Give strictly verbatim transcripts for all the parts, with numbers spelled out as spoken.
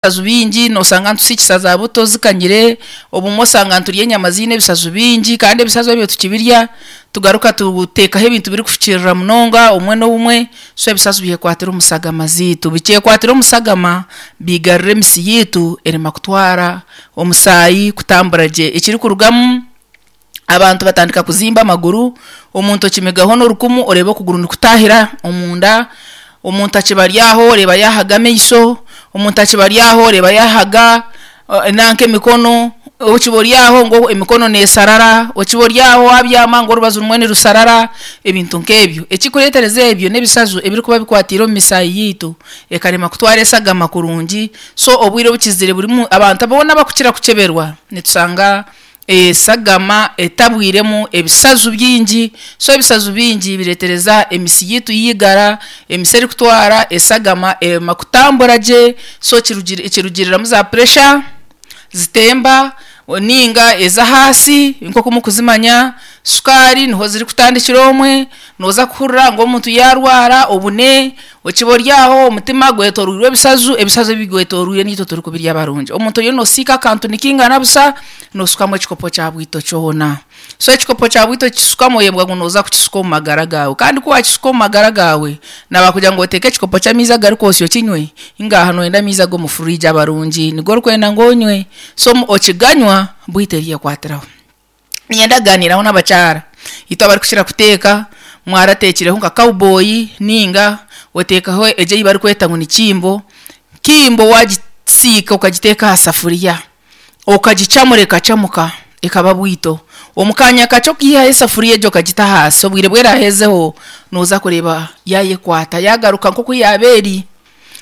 Ebisazu bingi nosanga nitusiikisa za buto zikanyire, obumwe osanga niturya enyama ziine ebisazu bingi kandi ebisazu ebyo tukibirya tugaruka tuteekaho ebintu birikufukiirira munonga obumwe n'obumwe, so ebisazu byekwatira omu shagama ziitu, bikyekwatira omu shagama biigarira emisi yaitu erema kutwara omusaayi kutambura gye, ekirikurugamu abantu batandika kuzimba amaguru, omuntu okimigaho n'orukumu oreeba okuguru nikutaahira omunda, omuntu akiba ari aho oreeba yaahaga amaisho, omuntu akiba ari aho oreeba yaahaga nanka emikono, okiba ori aho ngu emikono neesarara, okiba ori aho waabyama ngu orubaju rumwe nirusarara, ebintu nk'ebyo. Ekirikureetereza ebyo n'ebisazu ebirikuba bikwatiire omu misaayi yaitu ekarema kutwara eshagama kurungi, so obwire obukizire burimu abantu boona abakukira kukyeberwa nitusanga eshagama etabwiremu ebisazu bingi, so ebisazu bingi bireetereza emisi yaitu yaigara, emisi erikutwara eshagama erema kutambura gye, so kirugiri kirugiriramu za pressure zitemba ninga ez'ahaasi nk'oku murikuzimanya, sukaari niho zirikutandikira omwe, nooza kuhurira ngu omuntu yaarwara obune, okiba ori aho omutima gwetooroirwe ebisazu, ebisazu ebigwetooroire niitwe turikubirya barungi. Omuntu oriyo noosiika akantu nikingana busa, nooshukamu ekikopo kya bwito kyona. So ekikopo kya bwito okukishukamu oyebwa ngu nooza kukishuka omu magara gaawe kandi ku waakishuka omu magara gaawe, naabakugira ngu oteeke ekikopo ky'amaizi agarikwosya okinywe, hinga nooyenda amaizi ag'omu fridge abarungi nigo orikwenda ngu onywe, so okiganywa bwito eryekwatiraho. Niinyenda kugaaniiraho n'abakyara, itwe abarikukira kuteeka, mwarateekireho nka cowboy ninga oteekaho egyo ei barikweta ngu ni kimbo, kimbo waagisiika okagiteeka aha safuriya, okagicamura ekacamuka ekaba bwito, omu kaanya kakye okiihaho esafuriya egyo okagita ahansi, obwire obu eraahezeho nooza kureeba yaayekwata yaagaruka nk'oku yaaba eri.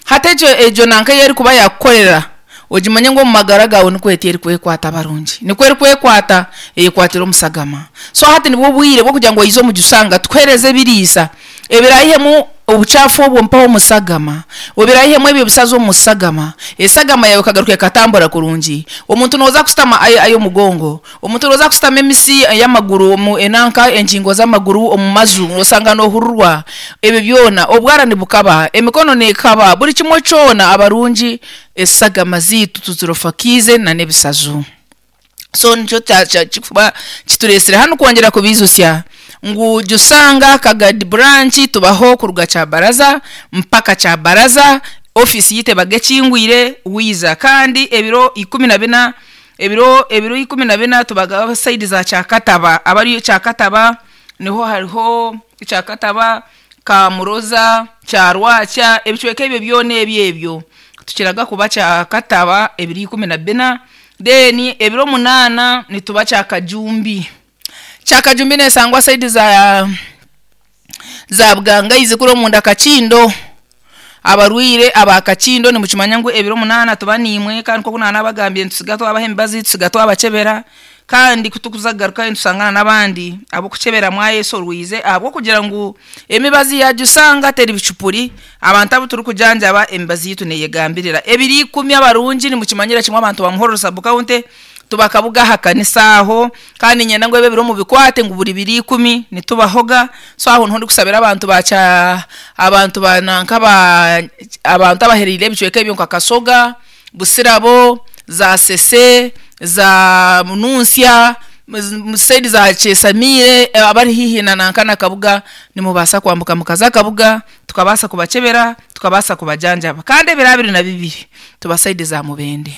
Hati egyo egyo nanka ei erikuba yaakukorera, ogimanye ngu omu magara gaawe nikwo eti erikwekwata barungi, nikwo erikwekwata eyekwatira omu shagama. So hati nibwo bwire bw'okugira ngu oize omugishanga tukuheereze ebiriisa ebiraihemu obucaafu obwo mpaho omu shagama, obiraihemu ebyo bisazu omu shagama, eshagama yaawe ekagaruka ekatambura kurungi. Omuntu nooza kushutama ayi omugongo, omuntu nooza kushutama emisi y'amaguru omu enanka engingo z'amaguru omu maju osanga noohurirwa, ebyo byona obwara nibukaba, emikono neekaba, buri kimwe kyona abarungi eshagama ziitu tuzirofakiize n'ebisazu. So nikyo kikuba kitureesire hanu kwongyera kubiijutsya ngu Jusanga Kagadi branch tubaho kuruga Kyabaraza mpaka Kyabaraza, ofiisi yaitu ebaga ekingwire wiiza kandi ebiro ikumi na bina ebiro ebiro ikumi na bina tubaga sayidi za Kyakataba, abari Kyakataba niho hariho Kyakataba, Kamuroza, Kyarwakya, ebicweka ebyo byona ebyo ebyo tukiraga kuba Kyakataba ebiro ikumi na bina, then ebiro munaana nituba Kyakajumbi. Kyakajumbi neeshangwa sayidi za za Bugangaizi kuri omunda Kakindo, abarwaire aba Kakindo nimukimanya ngu ebiro munaana tuba niimwe kandi nk'oku naanabagambire nitusiga twabaha emibazi, tusiga twabakyebera kandi kutukuza kugarukayo nitusangana n'abandi ab'okukyebera mwayesorwize ahabw'okugira ngu emibazi ya Jusanga teri bicupuri, abantu abu turikujanjaba emibazi yaitu neeyegambirira. Ebiro ikumi abarungi nimukimanyira kimwe abantu ba Muhorro sub county tuba Kabuga aha kanisa aho kandi niinyenda ngu ebi ebiro mubikwate ngu buri biro ikumi nitubahoga, so aho niho ndikusabira abantu ba Kya abantu ba nanka ba abantu abahereire ebicweka ebyo nka Kasoga, Busirabo, za Sese, za Mununtsya, sayidi za Kyesamiire abari haihi na nanka na Kabuga nimubaasa kwambuka mukaza Kabuga tukabaasa kubakyebera, tukabaasa kubajanjaba kandi ebiro abiri na bibiri tuba sayidi za Mubende.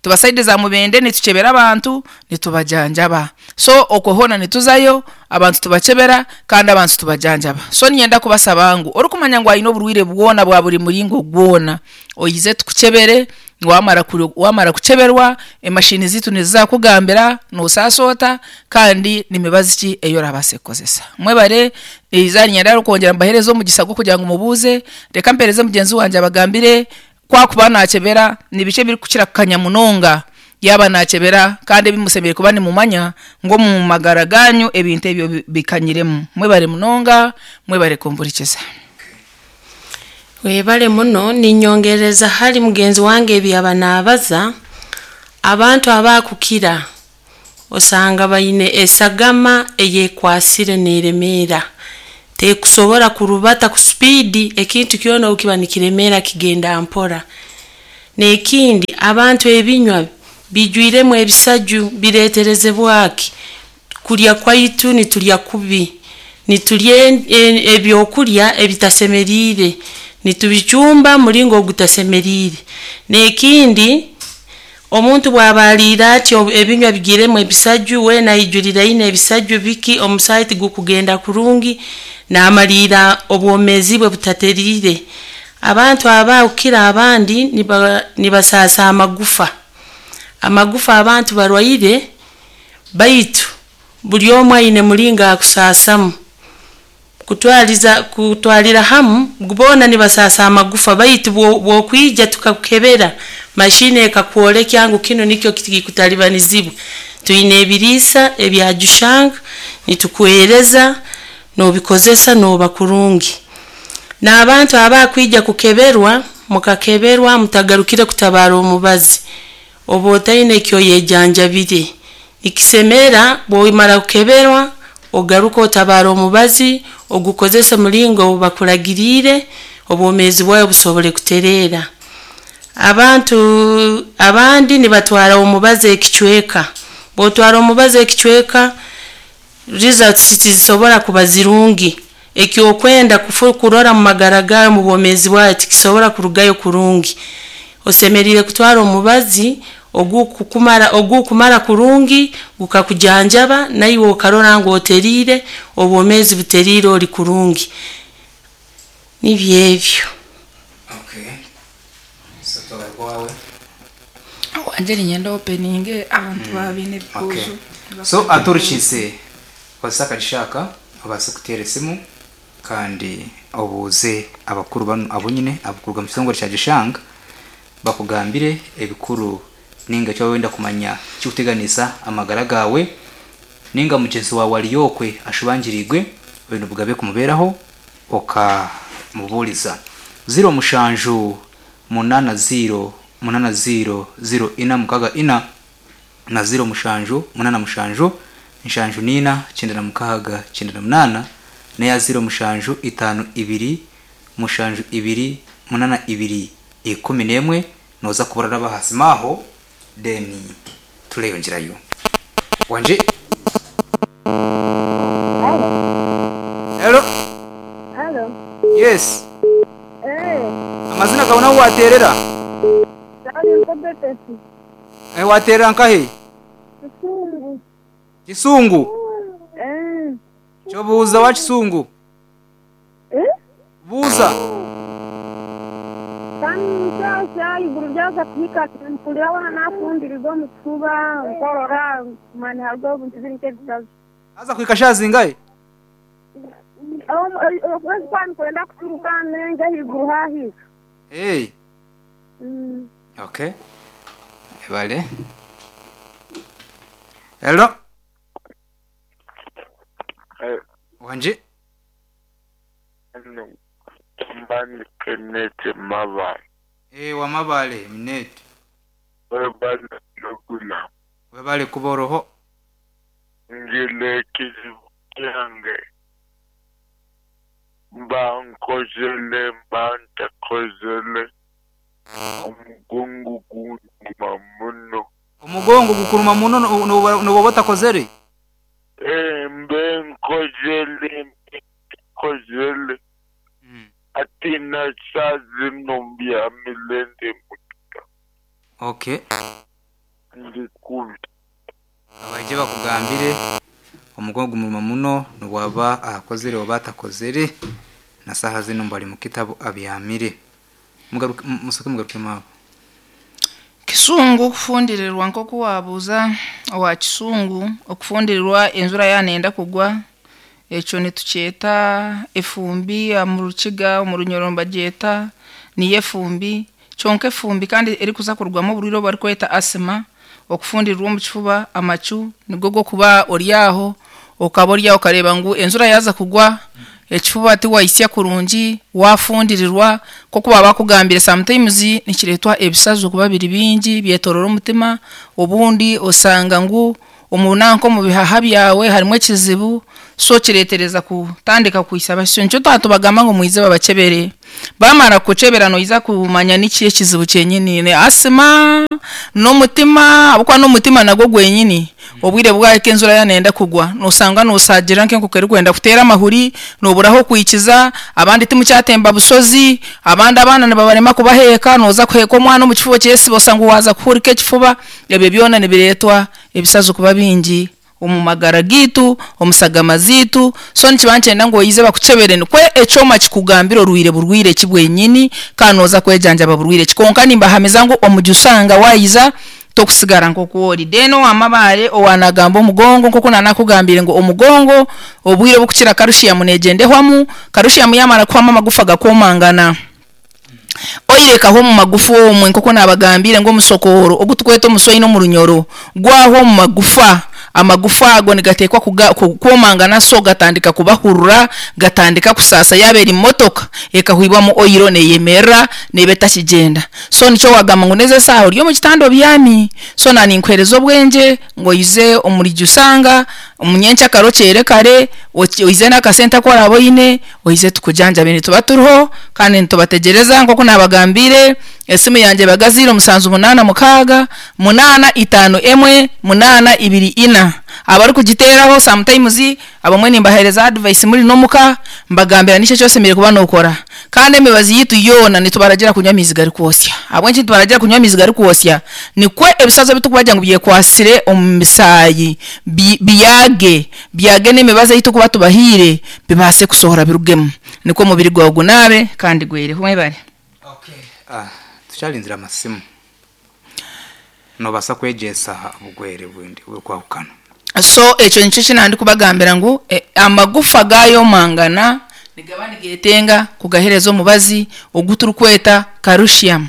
Tuba sayidi za Mubende nitukyebera abantu nitubajanjaba. So okwo hoona nituzayo abantu tubakyebera kandi abantu tubajanjaba. So niinyenda kubasaba ngu orikumanya ngu aine oburwaire bwona bwa buri muringo gwona, oize tukukyebere, waamara waamara kukyeberwa emashini ziitu nizizakugambira noosaasa ota kandi n'emibazi ki ei orabaase kukozesa. Mwebare eizooba niinyenda kwongyera mbaheereze omugisa gw'okugira ngu mubuuze, reka mpeereze mugyenzi wangye abagambire ku akuba naakyebera nibiki ebirikukira kukanya munonga yaaba naakyebera kandi ebi mushemereire kuba nimumanya ngu omu magara gaanyu ebintu ebyo bikanyiremu. Mwebare munonga, mwebare kumpurikiza. Webale muno ninyongereza hali mugenzi wange ebi yaba naabaza, abantu abakukira osanga baine esagama eyekwasire neeremeera, tekusobora kurubata ku speed ekintu kyona obu kiba nikiremeera kigenda mpora. N'ekindi, abantu ebinywa bijwiremu ebisaju bireeterezebwaki? Kulya kwaitu nitulya kubi, nitulya en- en- ebyokulya ebitasemeriire, nitubicumba mulingo ogutasemeriire. N'ekindi, omuntu bw'aba aliire atyo ebinywa bigiiremu ebisaju, weena aijuriraine ebisaju biki, omusaayi tigukugenda kurungi, naamaliira obwomeezi bwe butateriire. Abantu aba kukira abandi niba nibasaasa amagufa. Amagufa abantu barwaire, baitu buli omu aine mulingo akusaasamu. Kutwaliza kutwalira hamu boona nibasaasa amagufa, baitu bwo- bw'okwija tukakukebera, mashini ekakwolekya ngu kinu nikyo kikutalibanizibwa. Twine ebiriisa ebya Jushanga, nitukuheereza, noobikozesa nooba kurungi. N'abantu abakwija kukeberwa, mukakeberwa mutagarukire kutabaara omubazi, oba otaine ekyoyejanjabire. Nikisemera bw'omara kukeberwa, ogaruke otabaara omubazi, ogukozese mulingo ogu bakuragiriire, obwomeezi bwawe busobole kutereera. Abantu abandi nibatwara omubazi ekicweka. Bw'otwara omubazi ekicweka, results tizisobora kuba zirungi. Ekyokwenda kufu kurora mu magara gaawe mu bwomeezi bwawe tikisobora kurugayo kurungi. Osemeriire kutwara omubazi ogukukumara ogukumara kurungi, gukakujanjaba, naiwe okarora ngu oteriire, obwomeezi buteriire ori kurungi. Nibyo ebyo. Okay, so twagaruka wawe. Wanje niinyenda openinge abantu baba baine Okay. ebibuuzo. So aturukiise kozesa akagishaka obaase kuteera esimu kandi obuuze abakuru banu abo nyine abakuruga mu kitongore kya Gishanga bakugambire ebikuru ninga eki wenda kumanya kikuteganisa amagara gawe, ninga mugyenzi wawe ariyo okwe ashubangiriigwe oine obugabe kumubeeraho okamubuuriza. Ziro mushanju munana ziro munana ziro ziro ina mukaga ina na ziro mushanju munana mushanju nshanju nina kyenda na mukaga kyenda na munana neya ziro mushanju itano ibiri mushanju ibiri munana ibiri ikumi n'emwe. Noza kubura n'abahasimaho then tureyongerayo. Wanje. Hello. Halo. Yes. Eh, amazina gawe nawe waterera? Sali nkobetesi. Eh, waterera nkahe? Kisungu. Kisungu? Eh. Kyobuuza wa Kisungu? Eh? Buuza. Kandi nkyasha iguru ryaza kuhika mpulira wana nafundiriza omu kifuba nkorora mani hariho obuntu biri nk'ebisazi. Aza kuhika shazingahe? Okwezi kwani kwenda kuturuka nenge ahaiguru hahika. Hey. Mm. Okay. Ebale. Hello. Eh, Wanje. Hano mbani Kenneth Mabale. Eh, wa Mabale minete. Webale lugula. Webale kuboroho. Ngile kizibu kyange. Mba nkozele mba ntakozele. Omugongo gunduma muno. Omugongo gukuruma muno noba batakozere? Eh, mbe nkozele mbe ntakozele. Mm. Ati na saa zino mbyamile ndi mutuka. Okay. Ndi kubi. Abaje bakugambire omugongo gumuruma muno nobwaba akozere oba atakozere na saha zino mbali mu kitabo abyamire. Mugaruke musoke mugaruke mabo. Kisungu okufundirirwa nk'oku wabuuza owa Kisungu, okufundirirwa enjura yanenda kugwa, ekyo nitukyeta efumbi omu Rukiga, omu Runyoro nibagyeta niyo efumbi, kyonka efumbi kandi erikuza kurugwamu oburwaire obu barikweta asima, okufundirirwa omu kifuba, amacu nigo g'okuba ori aho, okaba ori aho okareeba ngu enjura yaaza kugwa, ekifuba tiwahisya kurungi, wafundirirwa, nk'oku baba bakugambire sometimes nikireetwa ebisazo kuba biri bingi byetorora omutima, obundi osanga ngu Omu nanka omu bihaha byawe harimu ekizibu, so kireetereza kutandika kwisa basyo. Nikyo twatubagamba ngu mwize babachebere. Bamara kukuchebera noija kumanya niki ekizibu kyenyini, ni asima, n'omutima, ahabw'okuba n'omutima nagwo gwenyini. Obwire bwahika enjura yaanenda kugwa, noosanga noosaagira nk'enkoko erikwenda kuteera amahuri, nooburaho okwikiza, abandi timukyatemba bushozi, abandi abaana nibabarema kubaheeka, nooza kuheeka omwana omu kifuba kyesiba osanga waaza kuhurika ekifuba, ebyo byona nibireetwa ebisazo kuba bingi omu magara gaitu, omu shagama zaitu, so nikiba nikyenda ngu oize bakuchebere nikwo ekyoma kikugambire orwire burwire ki bwenyini, kandi nooza kwejanjaba burwire ki. Konka nimbahamiza ngu omujusanga waayiza tokusigara nk'oku ori. Then owamabaare owaanagamba omugongo nk'oku naanakugambire ngu omugongo obwire obukukira calcium neegyenda ehwamu, calcium yaamara kuhwamu amagufa gakoomangana. Oirekaho omu magufa omwe nk'oku naabagambire ngu omusokooro ogu tukweta omusoine omu runyoro gwahwa omu magufa, amagufa ago nigateekwa kuga- ku- kwomangana so gatandika kubahurura, gatandika kusaasa yaaba eri motoka ekahwibwamu oyiro neeyemerera neeba etakigyenda. So nikyo waagamba ngu n'ezi esaaha ori omu kitanda obyami, so naaninkuheereza obwengye ngu oize omuri Jusanga omunyenkyakare okyere kare, oki- oize n'akasente aku oraabe oine, oize tukujanjabe nituba turiho kandi nitubategereza nk'oku naabagambiire, esimu yangye ebaga ziiro musanju munaana mukaaga, munaana itaano emwe, munaana ibiri ina. Abarikugiteeraho sometimes abamwe nimbaheereza advice muri n'omuka, mbagambira niki eki osemereire kuba nookora. Kandi emibazi yaitu yoona nitubaragira kunywa amaizi garikwosya. Ahabw'enki nitubaragira kunywa amaizi garikwosya? Nikwo ebisazo ebitukubagira ngu byekwasire omu misaayi bi- biyage, byage n'emibazi ei turikuba tubahaire bibaase kusohora birugemu. Nikwo omubiri gwawe gunaabe kandi gwereho. Mwebare. Ah, tukyarinzire amasimu nobaasa kwegyesa obugwere bundi burikwahukana. So ekyo nikyo eki nandikubagambira ngu e, amagufa gaayomangana nigaba nigeetenga kugaheereza omubazi ogu turikweta calcium.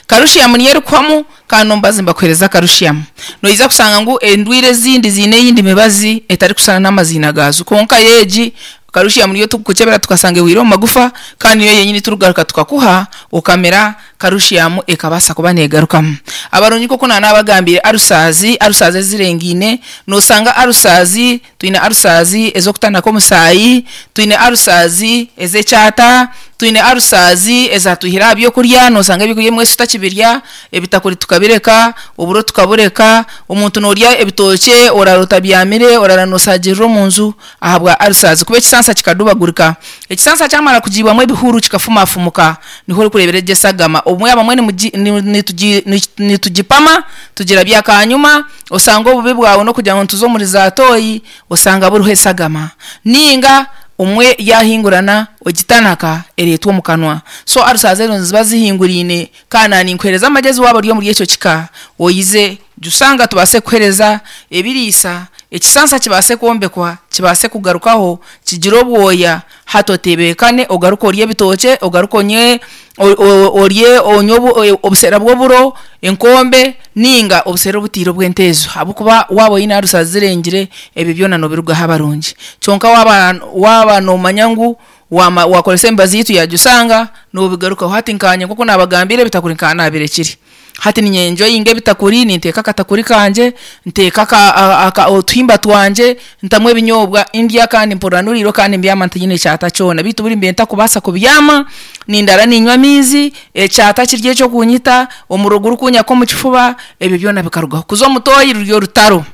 Calcium niyo erikuhwamu kandi n'omubazi nibakuheereza calcium. Noija kushanga ngu endwire ezindi ziine eyindi mibazi etarikushushana n'amaziina gaazo, konka yo egi calcium niyo turikukukyebera tukashanga ehwire omu magufa kandi niyo yenyini turikugaruka tukakuha okamira calcium ekabaasa kuba neegarukamu. Abarungi nk'oku naanaabagambire ulcers, ulcers ezirengaine, noosanga ulcers, twine ulcers ez'okutanaka omusaayi, twine ulcers ez'ekyata, twine ulcers ezatwihire aha byokurya, noosanga ebyokurya ebimwe tutakibirya, ebitakuri tukabireka, oburo tukabureka, omuntu noorya ebitookye oraara otabyamire, oraara noosaagirira omu nju ahabwa ulcers kuba ekisansa kikadubagurika. Ekisansa kyamara kugiibwamu ebihuru kikafumafumuka, niho orikureebera egyo esagama. Obumwe abamwe nimugi- ni- nitugi- ni- nitugipama tugirabya akanyuma, osanga obubi bwawe n'okugira ngu nituza omuri zaatooyi osanga buriho esagama. Ninga omwe yaahingurana ogitanaka ereetwa omu kanwa. So ulcers ezo niziba zihinguriine kandi naaninkuheereza amagezi waaba ori omuri ekyo kika, oize Jusanga tubaase kukuheereza ebiriisa, ekisansa kibaase kwombekwa, kibaase kugarukaho, kigire obwoya, hati otebeekane ogaruke orye ebitookye, ogaruke onywe o- o- orye onywe obu- obuseera bw'oburo, enkombe ninga obuseera obutiire obw'enteezo ahabw'okuba waaba oine ulcers zirengire ebyo byona noobirugaho abarungi. Kyonka waaba waaba noomanya ngu waama waakoresa emibazi yaitu ya Jusanga noobigarukaho. Hati nkaanye nk'oku naabagambire ebitakuri nkaba naabirekire. Hati ninyenjoyinga ebitakuri, ninteeka akatakuri kangye, nteeka aka- a- aka- otuhimba twangye, ntamu ebinyobwa ndya kandi mpurira nuriire kandi mbyama ntiine kyata kyona. Bitu buri mbiire ntakubaasa kubyama, nindara ninywa amaizi, ekyata kiri eky'okunyita, omuriro gurikunyaka omu kifuba, ebyo byona bikarugaho. Kuza omu tooyi ruri orutaro.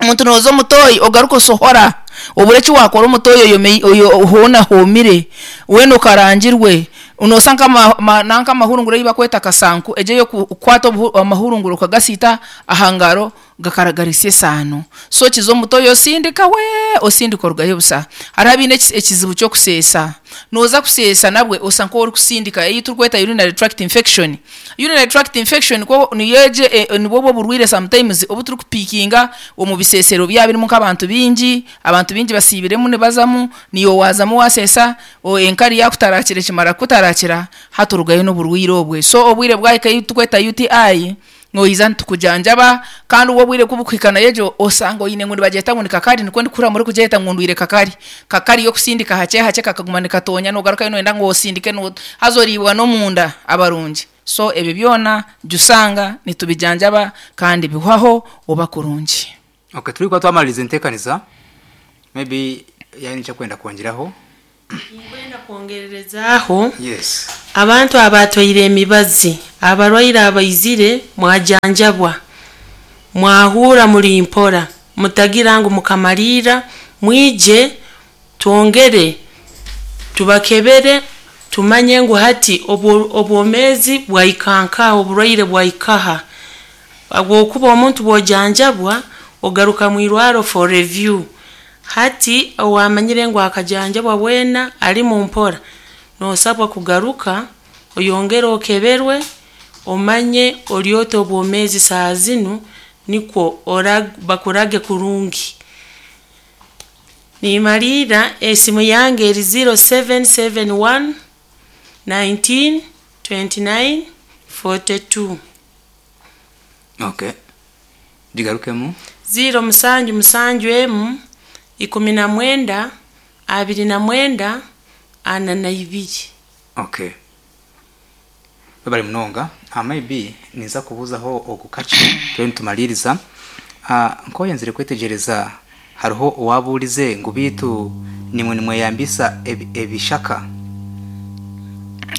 Omuntu nooza omu tooyi ogaruka osohora, obure eki waakora omu tooyi oyome oyo hoona hoomire, weena okarangirwe, noosa nk'ama ma- nanka amahurunguro ei bakweta kasanku egyo ey'okukwata obuhu amahurunguro okagasiita aha ngaro gakaragarisya esaano. So kiza omu tooyi osindika wee, osindika orugayo busa. Hariho abaine eki- ekizibu ky'okuseesa, nooza kuseesa nabwe osa nk'orikusindika ei turikweta urinary tract infection. Urinary tract infection kwo niyo egyo e- nibwo obwo oburwire sometimes obu turikupiikinga omu biseesero byaba birimu nk'abantu baingi, abantu baingi basiibiremu nibazamu, niiwe waazamu waaseesa, o- enkari yaakutarakira ekimara kukutarakira, hati orugayo n'oburwire obwe. So obwire bwahika ei turikweta U T I, noija nitukujanjaba kandi obwo obwire kubukuhika nayo egyo osanga oine ngu nibagyeta ngu ni kakari nikwo ndikuhurira murikugyeta ngu ndwire kakari. Kakari y'okusindika hakye hakye kakaguma nikatonya noogarukayo nooyenda ngu osindike no haza oriibwa n'omunda abarungi. So ebyo byona Jusanga nitubijanjaba kandi bihwaho oba kurungi. Okay, turi kuba twamaliriza enteekaniza, maybe yani kyakwenda kwongeraho. Nkwenda kwongererezaaho. Yes. Abantu abatwaire emibazi, abarwaire abaizire mwajanjabwa, mwahura muri mpora, mutagira ngu mukamalira, mwije twongere tubakebere, tumanye ngu hati obwo- obwomezi bwaikankaha, oburwaire bwaikaha. Habwokuba omuntu bwojanjabwa ogaruka mwirwaro for review. Hati owamanyire ngu akajanjabwa bwena ali mu mpora, nosabwa kugaruka oyongere okeberwe, omanye oryota obwomezi saa zinu, nikwo ora- bakurage kurungi. Nimalira esimu yange eri zero seven seven one nineteen twenty-nine forty-two. Okay, gigarukemu. Zero musanju musanju emu ikumi na mwenda abiri na mwenda ana na ibiri. Okay, bari munonga. Ah, maybe niza kubuzaho ogukace turi nitumaliriza. Ah, nkoyenzire kwetegereza, hariho owabuurize ngu bitu nimwe nimweyambisa ebi- ebishaka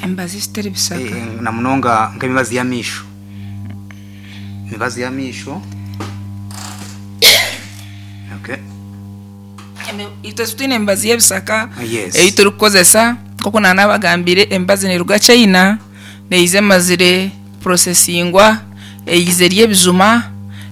Emibazi zitari bisaka. Eh, na munonga nk'emibazi y'amaisho, emibazi y'amaisho. Okay. Itwe twine emibazi y'ebisaka Yes. eyi turikukozesa. Nkoku nanabagambire, emibazi neruga China, neiza emazire processingwa, eize ry'ebijuma,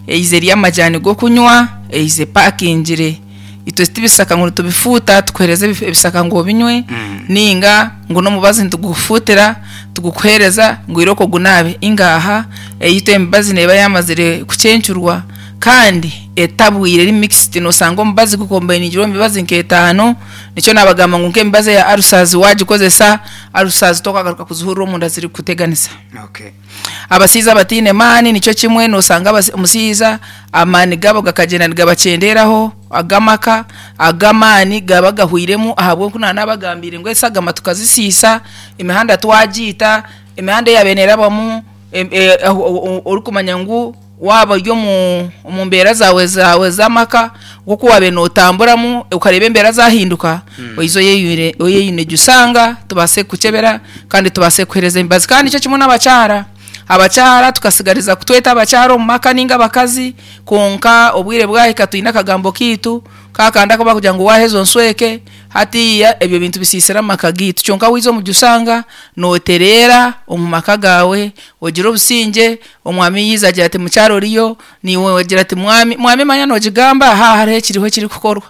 eize ry'amajani g'okunywa, eize pakingire. Itwe tibisaka ngu nitubifuuta tukuhereza ebi- ebisaka ngu obinywe, Mm. ninga ngu n'omubazi nitugufuutira tugukuhereza ngu iroko gunabe. Ingaha, eyitwe emibazi neba yamazire kucencurwa kandi etabwire, eri mixed. Nosanga omubazi gukombainingirwe emibazi nk'etaano. Nikyo nabagamba ngu nk'emibazi ya ulcers, wagikozesa ulcers tokagaruka kuzihurira omunda ziri kuteganisa. Okay. Abasiiza abatiine maani nikyo kimwe, nosanga abasi- omusiiza amaani gabo gakagenda nigabacenderaho, agamaka agamaani gaba gahwiremu, ahabw'oku nanabagambire ngu esagama tukazisiisa, emihanda twagiita, emihanda eyabe nerabamu em- e- aho- o- o- orikumanya ngu waba ori omu omu mbeera zawe zawe z'amaka, nkoku wabe notamburamu ukareba embeera zahinduka, oize oyeyune oyeyune jusanga tubase kukyebera kandi tubase kuhereza emibazi. Kandi nikyo kimwe n'abakyara, abakyara tukasigariza kutweta abakyara omu maka ninga abakazi, konka obwire bwahika twine akagambo kiitu kakanda ko bakugira ngu waheza onsweke. Hatiya ebyo bintu bisiisira amaka gitu. Kyonka wiza omu jusanga noterera omu maka gawe, ogira obusinge. Omwami yiza agira ati mukyaro oriyo, niwe ogira ati mwami, mwami manya nogigamba ha hariho ekiriho ekirikukorwa,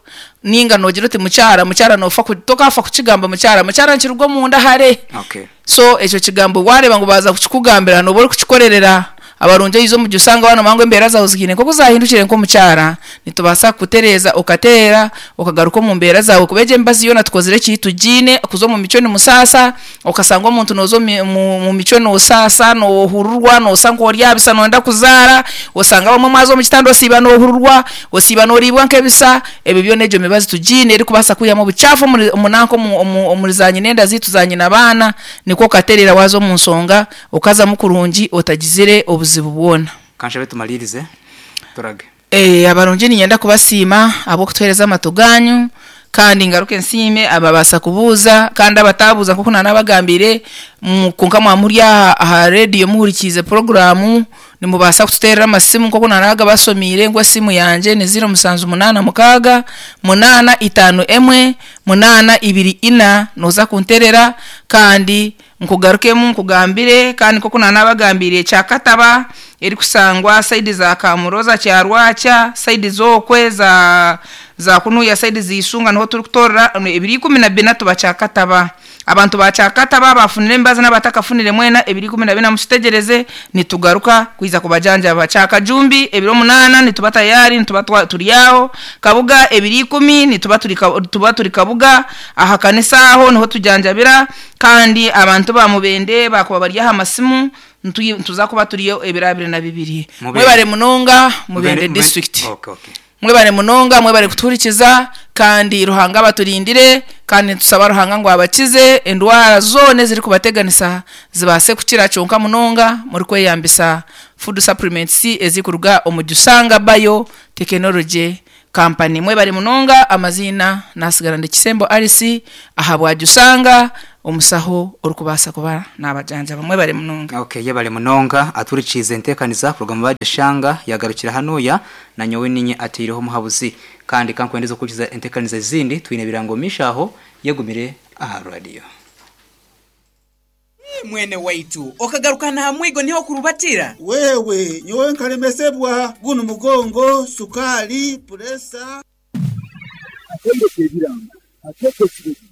ninga nogira oti mukyara, mukyara nofa ku- tokafa kukigamba mukyara, mukyara nkirugwa omunda hare. Okay. So ekyo kigambo wareba ngu baza kukikugambira, noba orikukikorerera. Abarungi oyiza omu jusanga wano mangu embeera zawe zihiine nkoku zahindukire nk'omukyara, nitubaasa kukutereeza okateera okagaruka omu mbeera zawe, kuba egyo emibazi yoona tukozire eki tugiine kuza omu micwe nimusaasa. Okasanga omuntu nooza omu- mu mu micwe noosaasa, noohururwa, noosa nk'oryabisa, noyenda kuzaara. Osanga abamwe mwaza omu kitanda osiiba noohururwa, osiiba nooriibwa nk'ebisa. Ebyo byona egyo mibazi tugiine erikubaasa kwihamu obucaafu omuri omunanka omu- omu- omuri za nyina enda ziitu za nyina abaana, nikwo okatereera waza omu nsonga okazamu kurungi otagizire obuzibu bwona. Kanshabe tumalirize turage. Eh, abarungi ninyenda kubasiima ahabw'okutuheereza amatu ganyu, kandi ngaruke nsiime ababaasa kubuuza kandi abatabuuza. Nkoku nanabagambire, mu- konka mwamuri aha aha rediyo muhurikiize poroguramu, nimubaasa kututeerera amasimu. Nkoku nanaga basomiire ngu esimu yangye ni ziro musanju munaana mukaaga munaana itaano emwe munaana ibiri ina, nooza kunterera kandi nkugarukemu nkugambire. Kandi nkoku nanabagambire, kyakataba erikusangwa saidi za Kamuroza, Kyarwakya, saidi zokwe za za kunuya, saidi ziisunga, niho turikutorera ebiri ikumi na bina. Tuba kyakataba. Abantu ba kyakataba bafunire embazi n'abatakafunire mwena, ebiri ikumi na bina musitegereze, nitugaruka kwiza kubajanjaba. Kyakajumbi ebiro munaana nituba tayari, nituba twa- turi aho. Kabuga ebiri ikumi nituba turi ka- tuba turi Kabuga aha kanisa, aho niho tujanjabira. Kandi abantu ba Mubende bakuba bari aha masimu, ntuyi- tuza kuba turiyo ebiro abiri na bibiri. Mubende. Mwebare munonga. Mubende district. Okay, okay. Mwebare munonga, mwebare kutuhurikiza. Kandi Ruhanga abaturindire, kandi nitusaba Ruhanga ngu abakize endwara zoona eziri kubateganisa zibaase kukira kyonka munonga murikweyambisa food supplements ezikuruga omu Jusanga Bio Technology Company. Mwebare munonga. Amaziina nasigara ndi Kisembo Alice ahabwa Jusanga, omusaho orikubaasa kuba nabajanjaba. Mwebare munonga. Okay, yebale munonga aturikiize enteekaniza kuruga mu bajashanga yagarukira hanuya na nyowe ninye ateireho omuhabuzi, kandi kankwendeza okurikiza enteekaniza ezindi. Twine ebirango mishaho yegumire aha radio. Mwene waitu okagarukana ha mwigo niho kurubatira. Wewe nyowe nkalemesebwa guno mugongo, sukali, puresa. Atendeka ebirango, ateeka ekirezi.